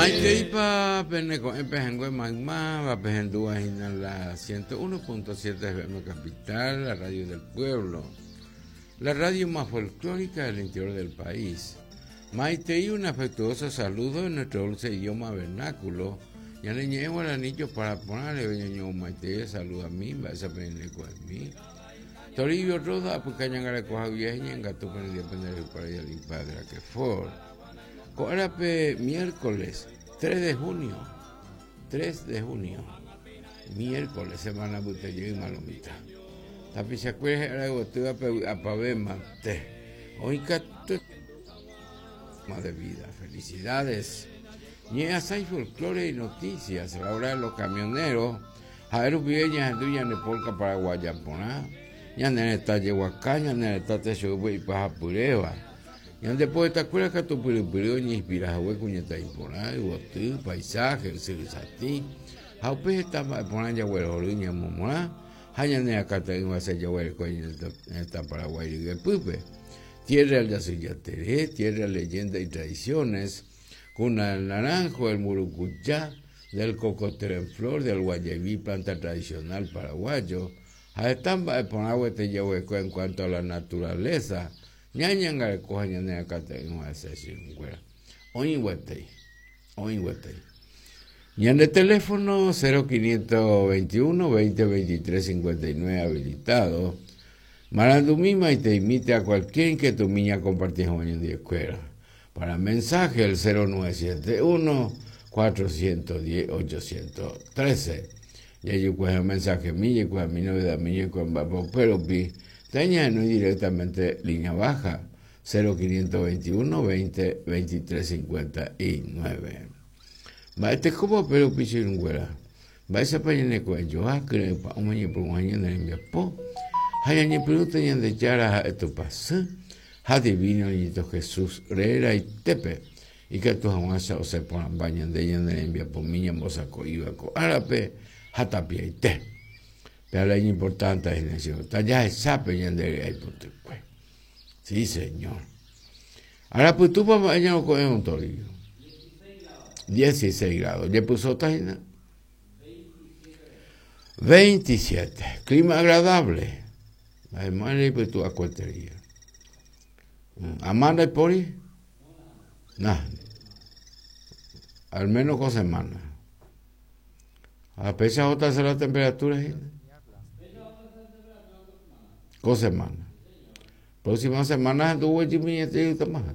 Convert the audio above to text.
Maiteipa pene ko'ẽ pehẽngue maymáva pehendúva hína la 101.7 FM Capital, la radio del pueblo, la radio más folclórica del interior del país. Maitei un afectuoso saludo en nuestro dulce idioma vernáculo. Ñane ñe'ẽ guaraní jopara porã reve ñañomomaitei saluda mi mba'éicha pene ko'ẽmi. Toribio Roda apyka ñangareko haguive ñe'ẽngatu pene ndive pende rehupáre Yali Padre Aquefor. Ko árape miércoles 3 de junio, 3 de junio, miércoles, semana mbyte jeýma lo mitã. Tapichakuéra hi'ára yvotýva pe vy'apavẽ mante. Oĩ katu de vida. Felicidades. Ñe'ẽasãi folklore y noticias, la hora de los camioneros. Ha'e rupive ñahendu ñane polka paraguaya porã, ñane retã jeguaka, ñane retã techoýpe ipahapyréva. Ñande poetakuéra katu pyrypyry oñeinspira hague kuñataĩ porã, yvoty, paisaje, ysyry satĩ, ha upe heta mba'e porã jaguerohory ñamomorã ha ñane akãte'ỹva che jaguereko ñane retã Paraguái ryepýpe. Tierra del Yasyjatere, tierra leyenda y tradiciones, cuna del naranjo, el murucuyá, del cocotero en flor, del guayeví, planta tradicional paraguayo, ha heta mba'e porã guete jaguereko en cuanto a la naturaleza, ñañangareko ha ñane rakate'ỹva hese che irũnguéra. Oĩ guetei, oĩ guetei. Ñande teléfono 0521 20 23 59 habilitado. Marandumi maiteimíte a cualquier inquietud ñakomparti hag̃ua ñandivekuéra. Para mensaje el 0971 410 813. Jajukuaha mensajemi, jaikuaami novedadmi, jaikuaa mba'épa upérupi, tañahenói directamente línea baja 0521 20 23 59. Mba'etekópa upérupi che irũnguéra? Mba'éichapa ñaneko'ẽjoa kyre'ỹ pa'ũme ñepyrũha ñane rembiapo ha ñañepyrũta Ñandejára ha'e Tupãsy ha Divino Niñito Jesús reraitépe, ikatu hag̃uáicha osẽ porãmba ñande ñane rembiapomi ñambosako'íva ko árape ha tapiaite. Pe ára iñimportánte hína che tajahecha pe ñande ry'ái potykue. Sí, Señor. Arapytúpa mba'e ñaroko'ẽ ontorio? 16 grados. Jepysóta hína. 27. Clima agradable. Además, reipytu akuetería. Amanda ipóri? Nah. Al menos con semana. A péicha ohóta la temperatura hína. Ko semana. Próxima semana ndoguejymiete ytamaha.